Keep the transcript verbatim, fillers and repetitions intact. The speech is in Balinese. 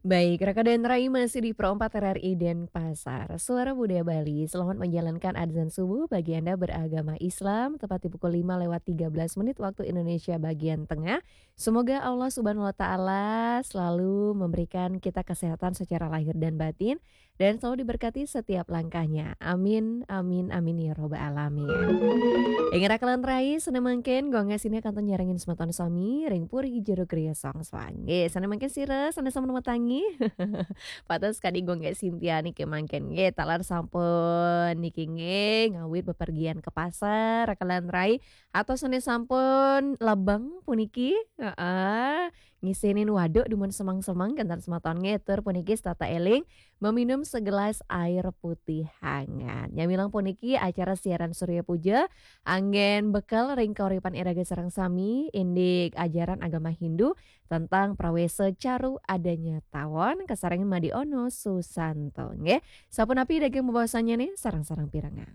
Baik, Raka dan Rai masih di Pro empat R R I Denpasar. Suara Budaya Bali, selamat menjalankan azan subuh bagi Anda beragama Islam, tepat di pukul lima lewat tiga belas menit waktu Indonesia bagian tengah. Semoga Allah Subhanahu wa Ta'ala selalu memberikan kita kesehatan secara lahir dan batin, dan selalu diberkati setiap langkahnya. Amin, amin, amin ya robbal alamin. Ingat Raka lan Rai, sané mangkin Gung Gas Sintia kantun nyarengin semeton sami ring Puri Jero Griya Songswang. Nggih, sané mangkin sira sané sampun matangi. Pados kadi Gung Gas Sintia niki mangkin nggih, taler sampun niki nggih, ngawit bepergian ke pasar, Raka lan Rai, atau sané sampun lebeng puniki, heeh, ngisinin waduk dumun semeng-semeng, kénten semeton nggih, tur puniki setata éling meminum segelas air putih hangat. Nyamilang puniki acara siaran Surya Puja anggén bekel ring kauripan iraga sareng sami, indik ajaran agama Hindu tentang prawésa caru adanya tawon, kasarengin Made Ono Susanto nggih. Sapunapi daging bebaosannya nih, sareng-sareng pirengang.